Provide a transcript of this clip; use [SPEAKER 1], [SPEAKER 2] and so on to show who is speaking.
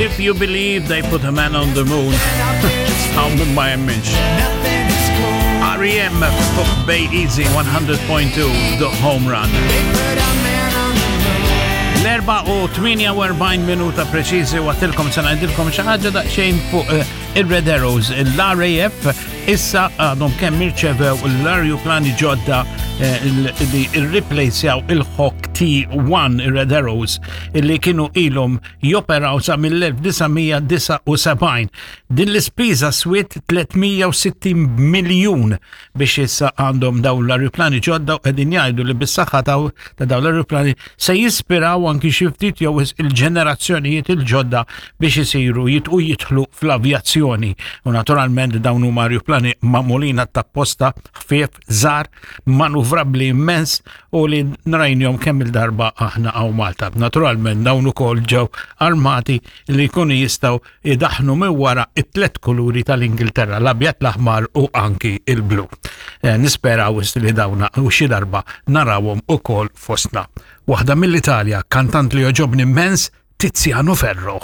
[SPEAKER 1] If you believe they put a man on the moon, hawn min ma jemminx. R.E.M. fuq Bay Easy 100.2 The Home Run. L-4 u 48 minuta preċiżi għatilkom se ngħidilkom xi ħaġa daqsxejn fuq eh, il-Red Arrows, l-RAF issa għadhom kemm irċevew l-arjuplani ġodda eh, li rriplejsjaw il-Hawk T1 il-Red Arrows illi kienu ilhom joperaw sa mill-1979. Din l-ispiża swiet 360 miljun biex issa għandhom dawn l-arjuplani ġodda u qegħdin jgħidu li bis-saħħa ta' dawn l-arjuplani se jispiraw anki xi ftit jew il-ġenerazzjonijiet il-ġodda biex isiru jitqu jidħlu fl-avjazzjoni. U naturalment dawn huma arjuplani magħmulin tapposta ħfief, żgħar, manuvrabbli immens u li nrajnjom kemm il-darba aħna hawn Malta. Naturalment dawn ukoll ġew armati li jkunu jistgħu idaħnu minn wara it-tlet kuluri tal-Ingilterra, l-abjad, l-aħmar u anki il-blu. Eh, nisperaw li dawna u xi darba narawhom ukoll fostna. Waħda mill-Italja, kantant li joġobni immens, Tiziano Ferro.